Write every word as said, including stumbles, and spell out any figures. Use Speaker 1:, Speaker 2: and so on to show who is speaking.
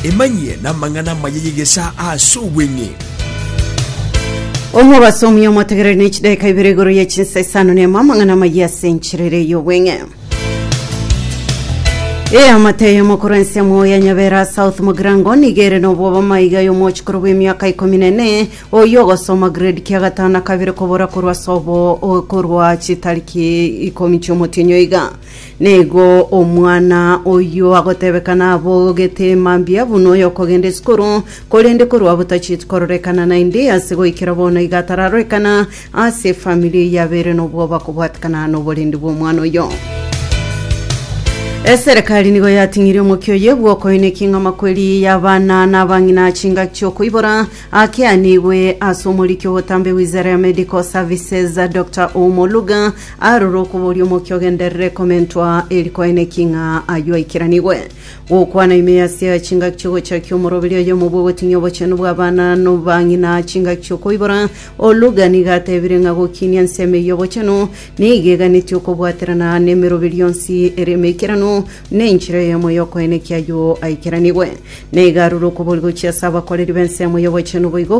Speaker 1: Emanyie n'amang'ana amaya y'egesa ase obweng'e.
Speaker 2: Omobasomi omotegereri, ne chidakika ibere igoro ya chinsa isano nemo, amang'ana amaya ase encherere y'obweng'e. Eamate y'omokoro ensemo ya Nyabera South Mugirango nigere nobwoba maiga y'omochikoro bw'emiaka ikomi nene oyo ogosoma grade kia gatano na kabere kobora korwa sobo o- korwa chitariki ikomi chiomotienyo iga. Nigo omwana oyo agotebekana abogete mambia buno oyo okogenda esukuru, korende korwa butachiti kororekana naende ase goikera bono iga atararorekana ase efamili yabere nobwoba kobwatikana noborendi bwa omwana oyo. Eserekari nigo yating'irie omokia oye bwokoine king'ama kweri y'abana n'abang'ina chingaki chiokoibora akeanigwe ase omoriki obotambe wizara ya Medical Services, Dr Omoluga arora okoboria omokia ogenderere komentwa erikoene king'a ayo aikiranigwe. Gokwana ime ase chingaki chiogochakia omoroberi oyo omobwe ogoting'ia obochenu bwa abana n'abang'ina chingaki chiokoibora, Oluga nigo atebire ng'a gokinia ensemo eywo obochenu nigo eganetie okobwaterana n'emeroberi yonsi ere emeikeranu nenchera eyemo yokoenekia ayo aikeranigwe. Nigo arure okobori gochia ase abakoreri b'ensemo y'obochenu boigo.